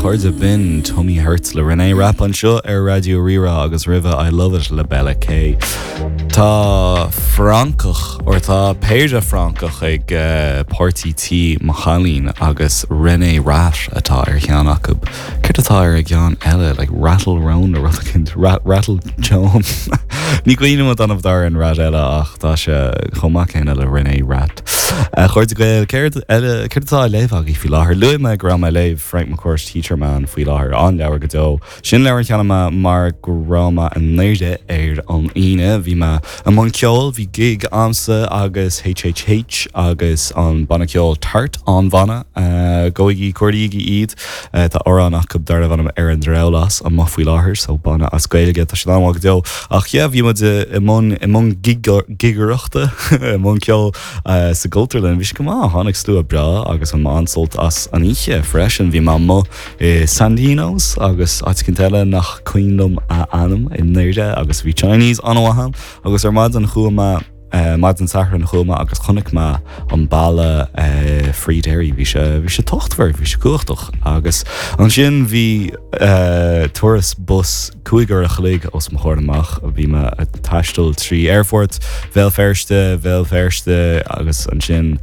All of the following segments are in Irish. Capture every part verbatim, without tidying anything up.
chairde b'in Tummy Hurts le Reneé Rapp anseo ar Raidió Rí-Rá agus roimhe I Love It le Bella K. Tá Francach or tá péire Francach ag uh, páirtí tí mo chailín agus René Rat atá ar cheann acu. Céard atá ar a gceann eile like Rattle Rón a rud Rattle Joan. Ní cuimhin liom an dar an rat eile ach tá sé chomh maith céanna le René Rat. A chairde Gael céard eile céard atá á léamh agaibh faoi láthair. Luaigh mé go raibh mé ag léamh Frank McCourt Teacher Man faoi láthair an-leabhar go deo. Sin leabhar a cheannaigh mé mar go raibh mé i nDoire ar an Aoine, bhí mé i mbun ceoil, bhí gig a'msa agus HHH agus an banna ceoil Tart an bhanna gabhaigí cuardaígí iad tá amhrán acu darb ainm ar an drabhlás amach faoi láthair so banna as Gaeilge tá sé an-mhaith go deo ach yeah, bhí muid i mbun i mbun gigearachta i mbun ceoil sa gCultúrlann bhí sé go maith tháinig slua breá agus an an-sult as an oíche freisin bhí mé amuigh i Sandinos agus áit eile nach cuimhin liom a ainm i nDoire agus bhí Chinese an-mhaith agus ar maidin chuaigh mé Uh, maidin Sathairn chuaigh mé agus chonaic mé an balla uh, Free Derry bhí sé bhí sé tochtmhar bhí sé cumhachtach agus ansin bhí uh, turas bus cúig uair a chloig os mo chomhair amach a bhí mé ag taisteal trí aerfort Bhéal Feirste Bhéal Feirste agus ansin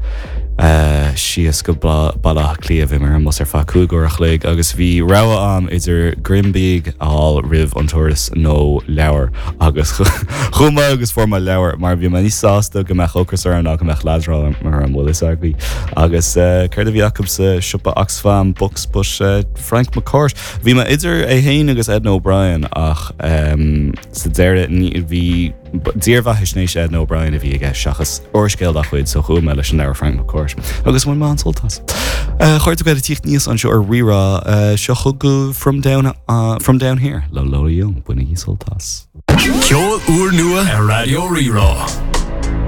uh, síos go Baile Átha Cliath bhí mé ar an mbus ar feadh cúig uair a chloig agus bhí rogha a'm idir greim bídh a fháil roimh an turas nó leabhar agus chuaigh mé agus fuair mé leabhar mar bhí mé níos sásta go mbeadh ocras orm ná go mbeadh leadrán mar an bhfuil agaí agus uh, céard a bhí acu sa siopa Oxfam Books but uh, Frank McCourt. Bhí mé idir é féin agus Edna O'Brien ach um, sa deireadh bhí dírbheathaisnéis Edna O'Brien a bhí aige seachas úrscéal dá chuid so chuaigh mé leis an leabhar Frank McCourt. agus bhain mé an-sult as. Chuir go tíocht níos anseo ar Rí-Rá seo chugaibh from down uh, from down here le Lola Young bainigí sult as. Ceol úrnua ar Raidió Rí-Rá.